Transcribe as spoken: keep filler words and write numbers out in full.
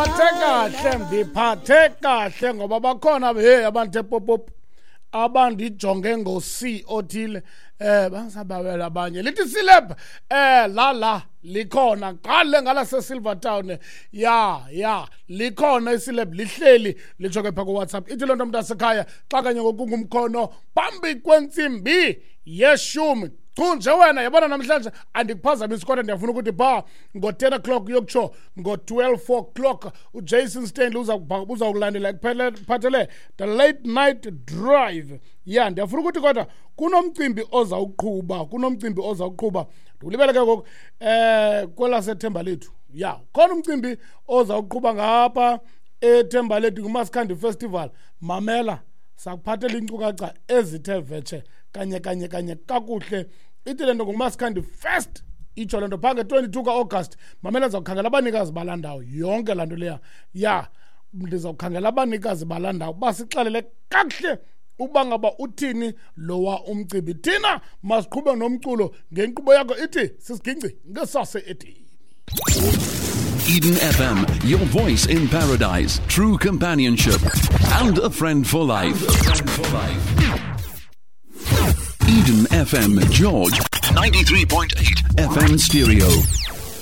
Ndiphathe kahle, ndiphathe kahle ngoba bakhona hey abantu epopop abandijonge ngo-C othile eh bangisabawela abanye. Lithi celeb eh la la likhona ngale ngala se-Silvertown, ya ya likhona iceleb lihleli litsho ke pha ku-WhatsApp. Ithi loo nto mntasekhaya xa kanye ngokungumkhono phambi kwentsimbi yeshumi. Chu nje wena yabona namhlanje andikuphazamisi kodwa ndiyafuna ukuthi pha ngo-ten o'clock yokutsho ngo-twelve o'clock uJason Stanley uza kulandela kuphathele the late night drive. Ya ndiyafuna ukuthi kodwa kunomcimbi ozawuqhuba, kunomcimbi ozawuqhuba ndikulibele ke ngoku eh kwelaseThemba Lethu. Ya khona umcimbi ozawuqhuba ngapha eThemba Lethu nguMaskandi Festival. Mamela sakuphathela iinkcukacha ezithe vetshe kanye kanye kanye kakuhle. Ithi le nto nguMaskandi Fest, itsho le nto phaa nge-twenty-two ka-August. Mamela ndizawukhangela abanikazi balaa ndawo yonke laa nto leya. Ya ndizawukhangela abanikazi balaa ndawo basixelele kakuhle uba ngaba uthini lowa umcimbi. Thina masiqhube nomculo ngenkqubo yakho ithi sisigingci ngesase edini. Eden F M, your voice in paradise, true companionship, and a friend for life. Eden F M, George, ninety-three point eight F M stereo.